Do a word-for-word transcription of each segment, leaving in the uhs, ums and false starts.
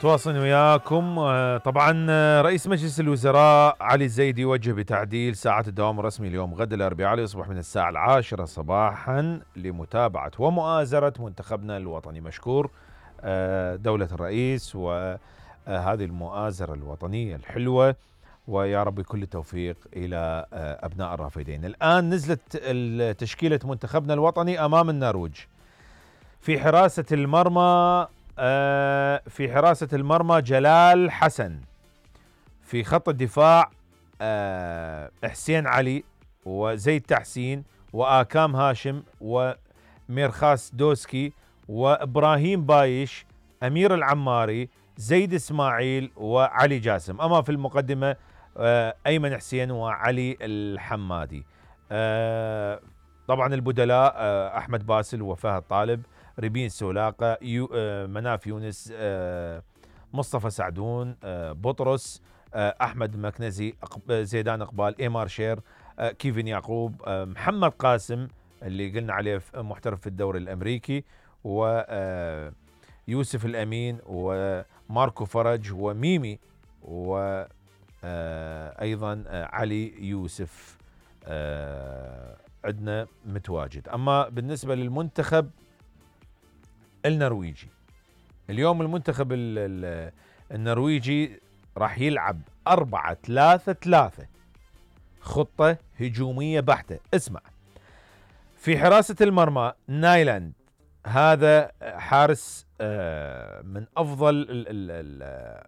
متواصلين وياكم. طبعا رئيس مجلس الوزراء علي الزيدي يوجه بتعديل ساعات الدوام الرسمي اليوم غد الاربعاء يصبح من الساعة العاشرة صباحا لمتابعة ومؤازرة منتخبنا الوطني. مشكور دولة الرئيس وهذه المؤازرة الوطنية الحلوة، ويا رب كل التوفيق إلى أبناء الرافدين. الآن نزلت تشكيلة منتخبنا الوطني أمام النرويج. في حراسة المرمى في حراسة المرمى جلال حسن. في خط الدفاع حسين علي وزيد تحسين وآكام هاشم وميرخاس دوسكي وإبراهيم بايش، أمير العماري، زيد إسماعيل وعلي جاسم. أما في المقدمة أيمن حسين وعلي الحمادي. طبعا البدلاء أحمد باسل وفهد طالب، ريبين سولاقة، يو مناف يونس، مصطفى سعدون، بطرس، أحمد مكنزي، زيدان إقبال، إيمار شير، كيفن يعقوب، محمد قاسم اللي قلنا عليه محترف في الدوري الأمريكي، ويوسف الأمين وماركو فرج وميمي، وأيضا علي يوسف عندنا متواجد. أما بالنسبة للمنتخب النرويجي اليوم، المنتخب النرويجي راح يلعب أربعة ثلاثة ثلاثة، خطة هجومية بحتة. اسمع، في حراسة المرمى نايلاند، هذا حارس من أفضل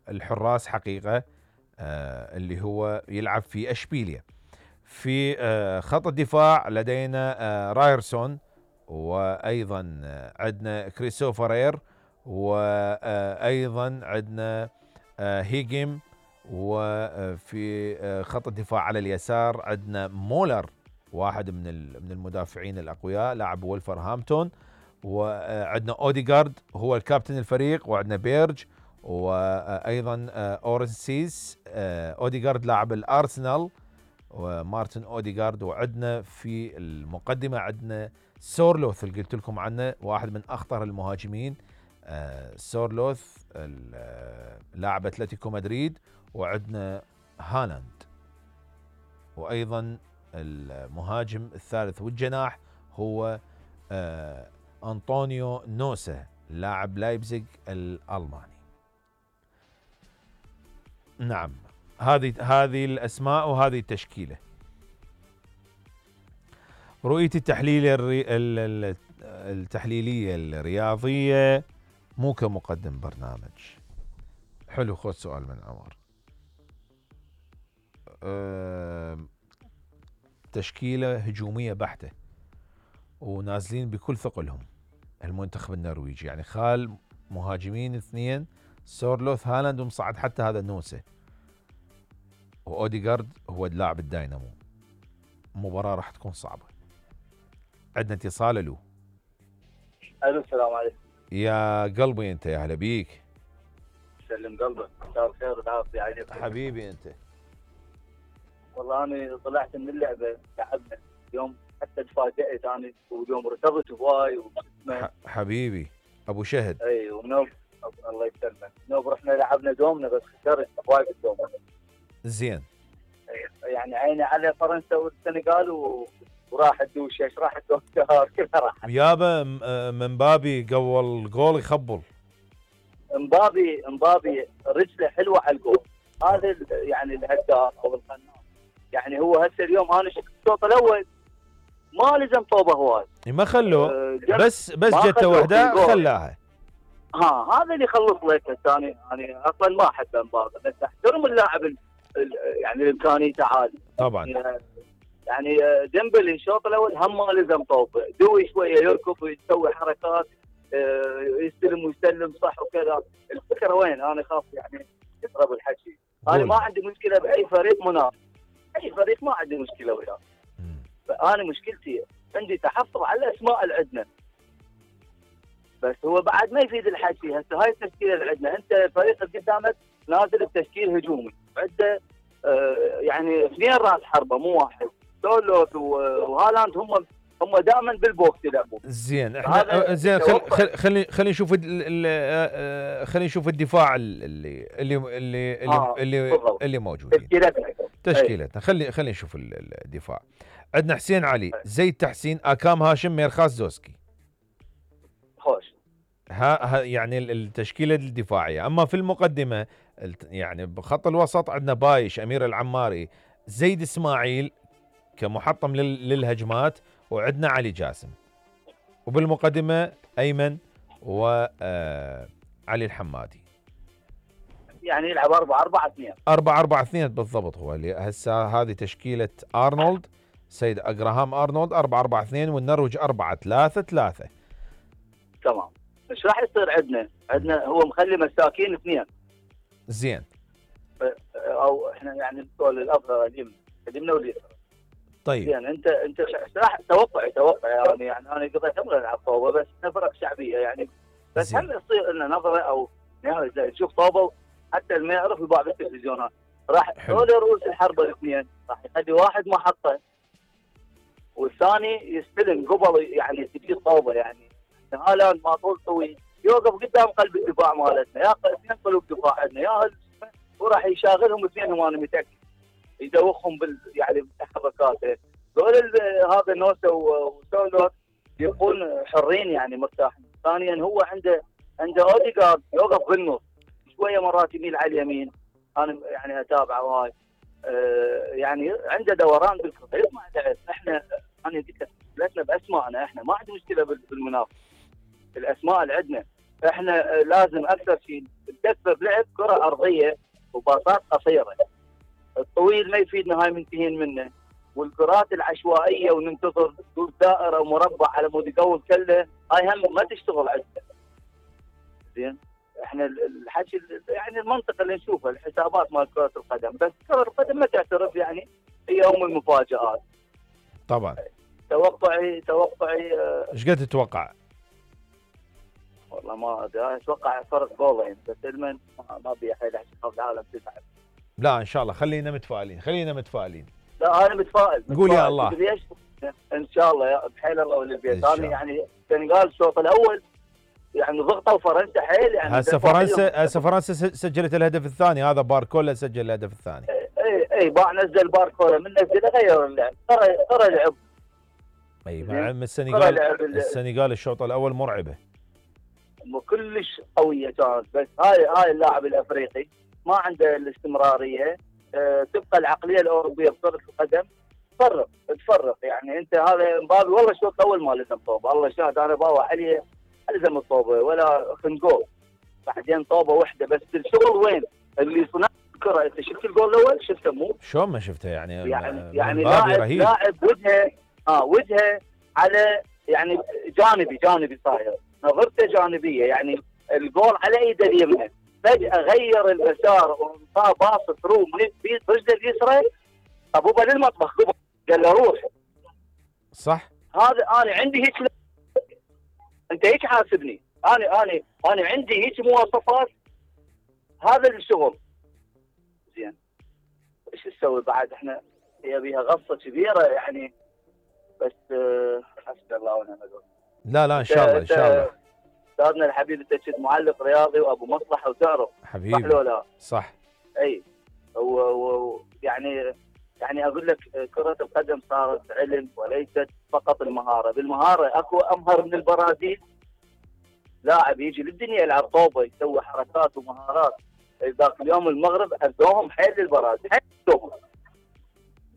الحراس حقيقة، اللي هو يلعب في أشبيليا. في خط الدفاع لدينا رايرسون، وأيضا عندنا كريستوفر، وأيضا عندنا هيجيم. وفي خط الدفاع على اليسار عندنا مولر، واحد من من المدافعين الأقوياء، لاعب وولفرهامبتون. وعندنا أوديغارد هو الكابتن الفريق، وعندنا بيرج، وأيضا أورنسيس. أوديغارد لاعب الأرسنال، ومارتن أوديغارد. وعندنا في المقدمة عندنا سورلوث اللي قلت لكم عنه، واحد من أخطر المهاجمين. سورلوث لاعب أتلتيكو مدريد. وعندنا هالاند، وأيضا المهاجم الثالث والجناح هو أنطونيو نوسا لاعب لايبزيغ الألماني. نعم، هذه هذه الأسماء وهذه التشكيلة. رؤيتي التحليل الري... التحليلية الرياضية مو كمقدم برنامج. حلو، خذ سؤال من عمر. أه... تشكيلة هجومية بحتة، ونازلين بكل ثقلهم المنتخب النرويجي، يعني خال مهاجمين اثنين، سورلوث، هالاند، ومصعد حتى هذا نوسة، وأوديغارد هو لاعب الداينامو. المباراة راح تكون صعبة. عندنا اتصال. له الو، السلام عليكم. يا قلبي انت، يا هلا بيك. سلم قلبك، مساء الخير والعافيه عليك حبيبي انت. والله انا طلعت من اللعبه، تعبنا اليوم، حتى تفاجئت انا، واليوم ارتبط هواي واسمه حبيبي ابو شهد. اي، ونوب الله يسلمك، نوب رحنا لعبنا دومنا بس خسرت هواي بالدوم. زين، يعني عيني على فرنسا والسنغال و... وراح تدوش، ايش راح تدوش كلها راح. يابا مبابي قول جول يخبل. مبابي مبابي رجله حلوه على الجول، هذا يعني الهداف او القناص. يعني هو هسه اليوم انا شفت الشوط الاول ما لزم طوبه هواي، ما خلوه، أه بس بس جته واحده خلاها. ها هذا اللي يخلص لك الثاني. انا اصلا ما احب مبابي، بس احترم اللاعب يعني الامكانيته عاليه طبعا. يعني ديمبلي الشوط الاول هم ما لزم طوبه، دوي شويه يركض ويسوي حركات، يستلم ويسلم صح وكذا. الفكره وين؟ انا خاف يعني يضرب الحكي. انا ما عندي مشكله باي فريق منافس، اي فريق ما عندي مشكله وياه. فانا مشكلتي عندي تحفظ على الاسماء اللي عندنا، بس هو بعد ما يفيد الحكي. هسه هاي التشكيله اللي عندنا، انت الفريق اللي قدامك نازل بتشكيل هجومي، عنده آه يعني اثنين راس حربه مو واحد، سولوث وهالاند هم هم دائما بالبوكس يلعبون. زين احنا زين خل خل خلي خلينا نشوف خلينا نشوف الدفاع اللي اللي اللي آه اللي, اللي موجودين. تشكيلتنا تشكيلتنا خلي خلينا نشوف الدفاع. عندنا حسين علي، زيد تحسين، اكام هاشم، ميرخاس زوسكي. خوش. ها يعني التشكيله الدفاعيه. اما في المقدمه يعني بخط الوسط عندنا بايش، امير العماري، زيد اسماعيل كمحطم للهجمات، وعندنا علي جاسم. وبالمقدمه ايمن وعلي الحمادي. يعني يلعب أربعة أربعة اثنين. أربعة أربعة اثنين بالضبط. هو اللي هسه هذه تشكيله ارنولد، سيد اجراهام ارنولد أربعة أربعة اثنين، والنرويج أربعة ثلاثة ثلاثة. تمام. ايش راح يصير عندنا؟ عندنا هو مخلي مساكين اثنين. زين. او احنا يعني نقول الافضل اليمنى اليمنى واليسرى. طيب. زين انت انت راح توقعي توقعي يعني يعني انا قضيت عمري العب طوبه، بس فرق شعبيه يعني. بس هل يصير لنا نظره او يعني تشوف طوبه حتى اللي ما يعرف يباع بالتلفزيونات، راح هذول رؤوس الحرب الاثنين راح يخلي واحد محطه والثاني يستلم قبل يعني تجي طوبه يعني. هالاند ما طول طويل يوقف قدام قلب الدفاع مالتنا، يا اثنين قلوب دفاع عندنا يا وراح يشاغلهم اثنينهم انا متاكد يدوخهم بال يعني بالتحركات. دول هذا نوسا وسولو يكون حرين يعني مرتاحين. ثانيا هو عنده عنده اوديجارد يوقف بالنص شويه مرات يميل على اليمين، انا يعني اتابعه وهاي أه يعني عنده دوران بالكره يطلع لعب. احنا انا قلت لك مشكلتنا باسمائنا، احنا ما عندنا مشكله بالمنافسه الاسماء اللي عندنا، احنا لازم اكثر شيء نكثر لعب كره ارضيه وباصات قصيره. الطويل ما يفيدنا، هاي منتهين منه، والكرات العشوائيه وننتظر دائره ومربع على مود يقول كله، هاي هم ما تشتغل عندنا. زين احنا الحكي يعني المنطقه اللي نشوفها الحسابات مال كره القدم، بس كره القدم ما تعترف يعني هي ام المفاجات. طبعا. توقعي توقعي ايش قد تتوقع؟ والله ما ادري، اتوقع فرق جولين بس المن ما ابي حيل عشان العالم تتعب. لا ان شاء الله خلينا متفائلين، خلينا متفائلين. لا انا متفائل. قول يا الله. ليش؟ ان شاء الله بحيل الله والبيت. انا يعني السنغال الشوط الاول يعني ضغطوا فرنسا حيل يعني. هسه فرنسا هسه فرنسا سجلت الهدف الثاني، هذا باركولا سجل الهدف الثاني. اي اي باع نزل باركولا من نزل غير اللعب، ترى ترى لعب. اي مع السنغال السنغال الشوط الاول مرعبه. كلش قويه كانت، بس هاي هاي اللاعب الافريقي ما عنده الاستمراريه. أه تبقى العقليه الاوروبيه بكره القدم تفرق تفرق يعني. انت هذا مبابي والله الشوط الاول ما لزم طوبه، الله شاهد انا باوع عليه الزم الطوبه ولا خنقول، بعدين طوبه واحده بس. الشغل وين؟ اللي صنع الكره انت شفت الجول الاول؟ شفته مو؟ شلون ما شفته يعني؟ يعني يعني لاعب لاعب وجهه اه وجهه على يعني جانبي جانبي صاير، نظرته جانبيه يعني الجول على ايده اليمنى، فجاه غير المسار وانطاه باص ثرو برجله اليسرى ابوبه للمطبخ قال له روح. صح. هذا انا عندي هيك، انت هيك حاسبني، انا انا انا عندي هيك مواصفات، هذا الشغل. زين ايش نسوي بعد؟ احنا هي بيها غصه كبيره يعني، بس حسبي الله ونعم الوكيل. لا لا ان شاء الله ان شاء الله. استاذنا الحبيب انت كنت معلق رياضي وابو مصلحه وتعرف حبيبي. صح ولا لا؟ صح. اي ويعني يعني اقول لك كره القدم صارت علم وليست فقط المهاره، بالمهاره اكو امهر من البرازيل، لاعب يجي للدنيا يلعب طوبه يسوي حركات ومهارات. ذاك اليوم المغرب ادوهم حيل للبرازيل ادوهم.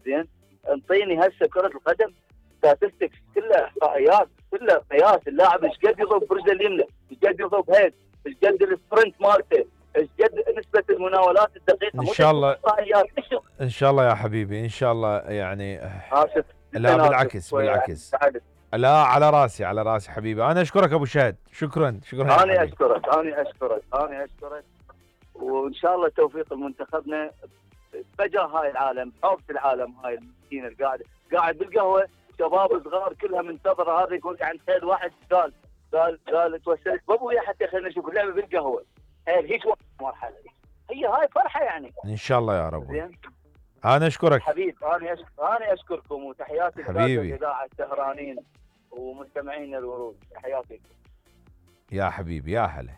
زين انطيني هسه كره القدم ستاتستكس كلها احصائيات كلها قياس اللاعب ايش قد يضرب برجله اليمنى، ايش قد يضرب هيد، ايش قد السبرنت مالته، ايش قد نسبه المناولات الدقيقه. ان شاء الله ان شاء الله يا حبيبي ان شاء الله يعني. لا بالعكس بالعكس. لا على راسي على راسي حبيبي. انا اشكرك ابو شهد، شكرا شكرا. انا اشكرك انا اشكرك انا اشكرك وان شاء الله توفيق لمنتخبنا فجاه هاي العالم، حوض العالم هاي المسكينه اللي قاعد قاعد بالقهوه شباب صغار كلها منتظره. هذا يقول يعني تخيل واحد قال قال قال توسلت بابويا حتى خلينا نشوف اللعبه بالقهوه. هي هيك مرحله هي هاي فرحه يعني. ان شاء الله يا رب. انا اشكرك حبيب، انا أشك... انا اشكركم، وتحياتي حبيبي. لقناه الاذاعه السهرانين ومستمعين الورود، تحياتي. يا حبيبي يا هلا.